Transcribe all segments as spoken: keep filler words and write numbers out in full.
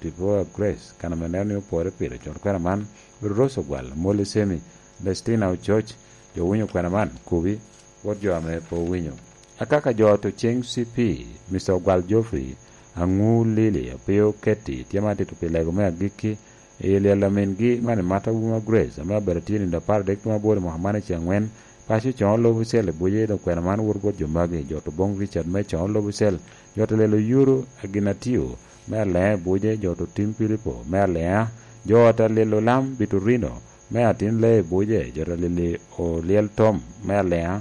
Tipo a Grace, kan ame neno ni opore pire, cwalo kwena man, Rose Ogwal, Molly Semi, Lestina Ococ, jo winyo kwena man, kubi, bot jo ame pe owinyo. Akaka jo to ceng C P, Mister Ogwal Geoffrey, Aŋu Lili, Apio Ketty, tye ma tito pi lego me agikki, i lyel a mingi, man i Mata Wuma Grace, ame abedo tye nindo apar adek tuŋ aboro i mwaka man i ceng angwen, paco coŋo lobo cel i buce, dok kwena man woto bot jo magi, jo to boŋ Richard me coŋo lobo cel, jo to lelo yuro, Aginatio, me Aleŋa i buce, jo to tim Pilipo, me Aleŋa, jo to lelo lam Bitorino, me atin lee i buce, jo to lili olyel Tom, me Aleŋa,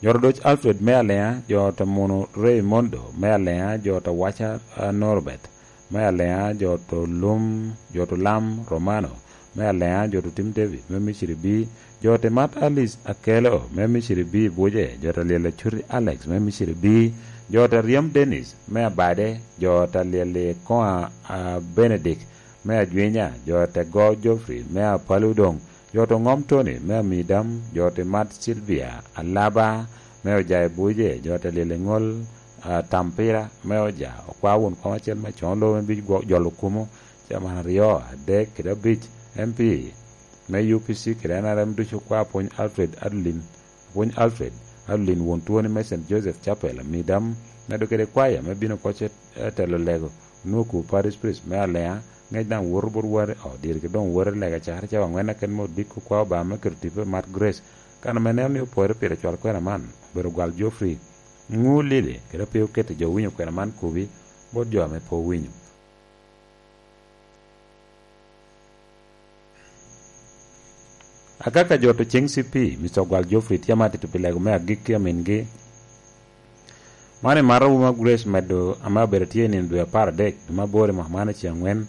jo to doc Alfred, me Aleŋa, jo to muno Raimondo, me Aleŋa, jo to waca, ah, Norbert, me Aleŋa, jo to lum, jo to lam Romano, me Aleŋa, jo to tim David, me Misiri bi, jo to mat Alice Akelo, me Misiri bi i buce, jo to lyel Acuti Alex, me Misiri bi, jo to ryem Dennis, me Abade, jo to lyel i koŋa, ah, Benedict, me Ajwinya, jo to go Geoffrey, me Apalu doŋ, jo to ŋom Tony, me Amidam, jo to mat Sylvia, Alaba, me Oja i buce, jo to lyel i ŋol, ah, Tampira, me Oja, okwa wun kom acel me coŋo lobo me bic gwo-, jolo kumo, caman aryo, adek, kede abic, M P, me U P C kede N R M ducu okwa Apwony Alfred Adeline, Apwony Alfred Adeline won twoni me Saint Joseph Chapel, Amidam, medo kede kwaya me bino koc e, e telo lego, Nuku Parish Priest me Aleŋa, ŋec daŋ woto bot wari, o, diri ki doŋ woto i lega cakere cawa angwen aken me odiko kwa Obaŋa me keto tipo i mat Grace, kan ame neno ni opore pire cwal kwena man, obedo gwal Geoffrey, Ŋu Lili, kede pe okete jo winyo kwena man kubi, bot jo ame pe owinyo. Akaka jo to ceng C P, Mister Ogwal Geoffrey tye ama tito pi lego me agikki a mingi. Man i Mata Wuma Grace medo ame abedo tye i nino dwe apar adek, dwe me aboro i mwaka man i ceng angwen.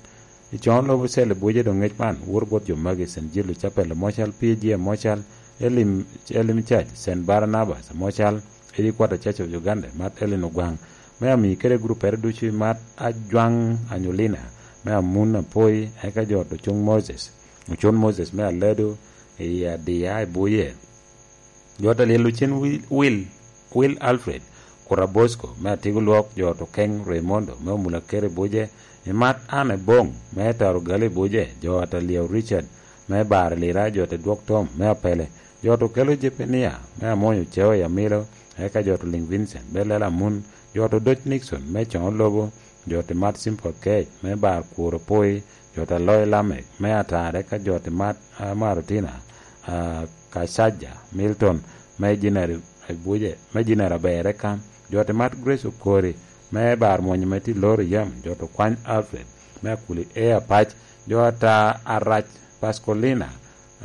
I coŋo lobo cel i buce doŋ ŋec man, woto bot jo magi, Saint Jude Chapel Amocal, P G Amocal, Elim, Elim Church, Saint Barnabas Amocal, Edi Kwata Church of Uganda, mat Ellen Ogwaŋ, me ami kede guruppere ducu i mat Ajwaŋ Anyolina, me Amun Apoi, eka jo to cuŋ Moses, Ocon Moses me Alado, i Adiya i Buye. Jo to lyel ocen Wil, Wil, Wil Alfred, Kura Bosco, me Atigo Lwok, jo to keŋ Raimondo, me Omula Kere i Buce, i mat Anne Boŋ, me Taro Gali i Buce, jo to lyeo Richard, me Bar Lira, jo to dwok Tom, me Apele, jo to kelo Jepenia, me Amony Oceo i Amilo, eka jo to liŋ Vincent, me Lela Amun, jo to doc Nixon, me Coŋo Lobo, jo to mat Simple Kec, me Bar Kuro Poi, jo to aloyo Lamek, me Atar, eka jo to mat, ah, Marutina, ah, Kacaja, Milton, me Jinari Abuja, me Jinari Aber, eka jo to mat Grace Okori, me Bar Mwonyo me tye loro yam, jo to kwany Alfred, me Akuli Air Pac, jo ata Arac Pascolina,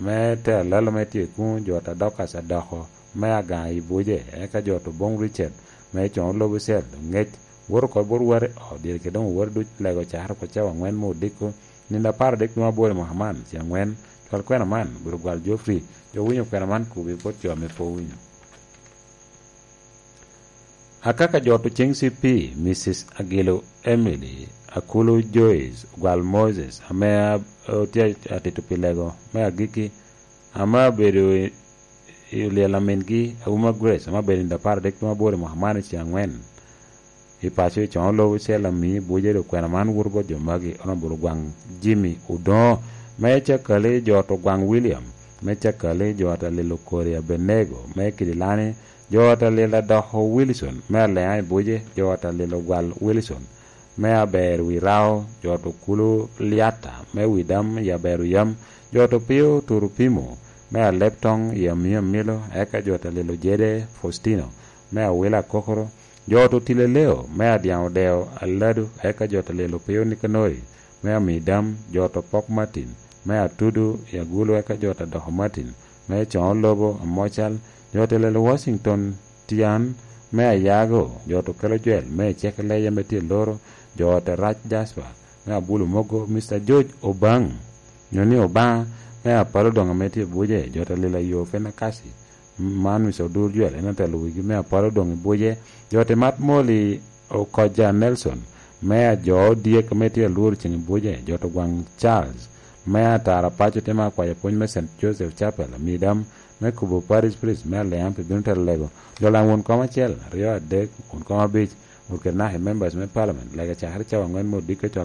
me te alalo me tye kuŋ, jo ta dok Acadoko, me Agaŋ i Buce, eka jo to boŋ Richard, me Coŋo Lobo Cel, ŋec, woto oko bot wari, o, diri kede doŋ wari duc, lego cakere oko cawa angwen me odiko, nino apar adek tuŋ aboro i mwaka man, ci angwen, cwal kwena man, obedo gwal Geoffrey, jo winyo kwena man kubi bot jo ame pe owinyo. Akaka jo to ceng C P, Missus Agilo Emily, Akulu Joyce, Gwal Moses, ame a-, otye atito pi lego me agikki, ame abedo i, i olyel a mingi, Auma Grace, ame abedo i nino apar adek tuŋ aboro i mwaka man i ceng angwen. I paco i coŋo lobo cel ami Buce, dok kwena man woto bot jo magi, Honorable Ogwaŋ Jimmy Odoŋo, me Cakali, jo to Ogwaŋ William, me Cakali, jo ta lilo Kori Abenego, me Kidilani, jo ta lilo Adoko Wilson, me Aleŋa i Buce, jo ta lilo Gwal Wilson, me Aber Wirao, jo to Kulu Liata, me Widam i Aber Oyam, jo to Pio Turupimo, me Alep Toŋ i Amio Amilo, eka jo ta lilo Jede Faustino, me Awila Kokoro, jo to Tileleo, me Adyaŋ Odeo Aladu, eka jo ta lilo Pio Nikanori, me Amidam, jo to Pok Martin, me Atudu i Agulu, eka jo ta Doko Martin, me Coŋo Lobo Amocal, jo ta lilo Washington Tian, me Ayago, jo to Kelo Jwel, me Cek Leja me tye Loro, jo ta Rac Jasper, me Abulu Mogo, Mister George Obaŋ, nyo ni Obaŋa, me Apalo Doŋ ame tye Buce, jo ta lilo Ayo Fenakasi, man Mister Odur Jwel, en otelo wigi, me Apalo Doŋ i Buce, jo ta Mat Moli Okoja Nelson, me Ajo Odyek ame tye Alworo Ceŋ i Buce, jo to Gwaŋ Charles, me Atara Paco te ma kwayo pwony me Saint Joseph Chapel, Amidam, me Kubo Parish Priest, me Aleŋa pi bino telo lego, jo laŋ won kom acel, aryo, adek, won kom abic, wot kede naka i members me parliament, lege cakere cawa angwen me odiko cwal